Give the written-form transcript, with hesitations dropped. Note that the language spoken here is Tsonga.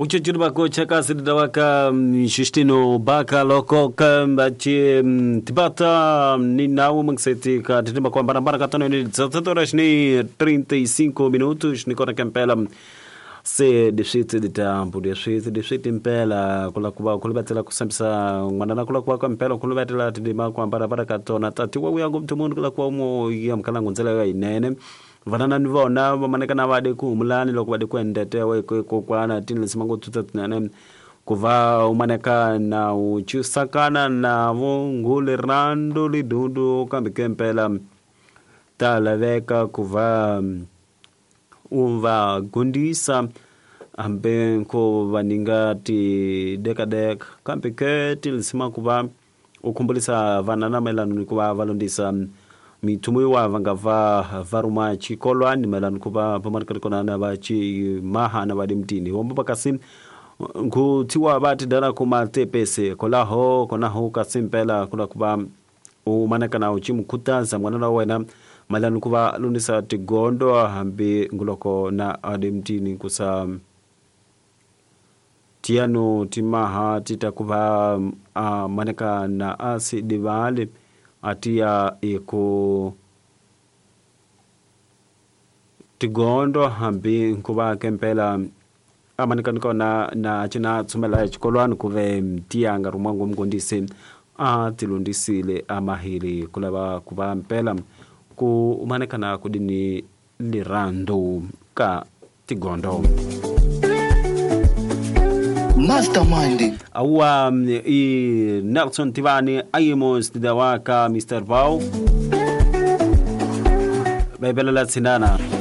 Uchuchuri bakocha sidawaka Justino Baka loko kamba chi tibata ni nawo mangseti ka titimba kwa barabara katano ni 17 horas ni 35 minutos ni kona kempela se dixitsi ditambu dixitsi dixiti mpela kula kuva kuluvatela kusambisa n'wana kula kuva ka mpela kuluvatela tidima ku hambana ka tona tati wa uya ngopfu munhu kula kuva mo ya mkalangu ndzela ya yinene vanana ni vona va maneka na va de ku humulani loko va de ku endetewa kokwana tinlesi mango tuta tinene ku va u maneka na u chusakana na vo ngule rando lidundu kambe ke mpela ta laveka ku va u va gundisa hambi ko va ninga tidekadeka kambe ke tilisima ku va u khumbulisa vana na mayelana ni ku va va londisa mithumu yiwa va nga va va ruma xikolwani mayelana ku va va maneka kona na va ximaha na va le mutini hombo va kasi nkuthiwa va tidala kuma tepese kolaho konaho kasi mpela kula ku va u maneka na u chimukhutaza n'wana wa wena mayelana ku va londisa tigondo hambi nguloko na ale mutini kusa tiano timaha tita ku va a maneka na asi divale atia iku tigondo hambi nkuva kempela amanika nikona na china tsumela exikolwani kuve tiyanga rumwangu mugondisi a tilundisile amahiri kulava kuva mpela ku maneka na kudini lirando ka tigondo. Mastermind awa i Nelson Tivani Amos Dawaka Mr. Bau Bebelela Tsinana.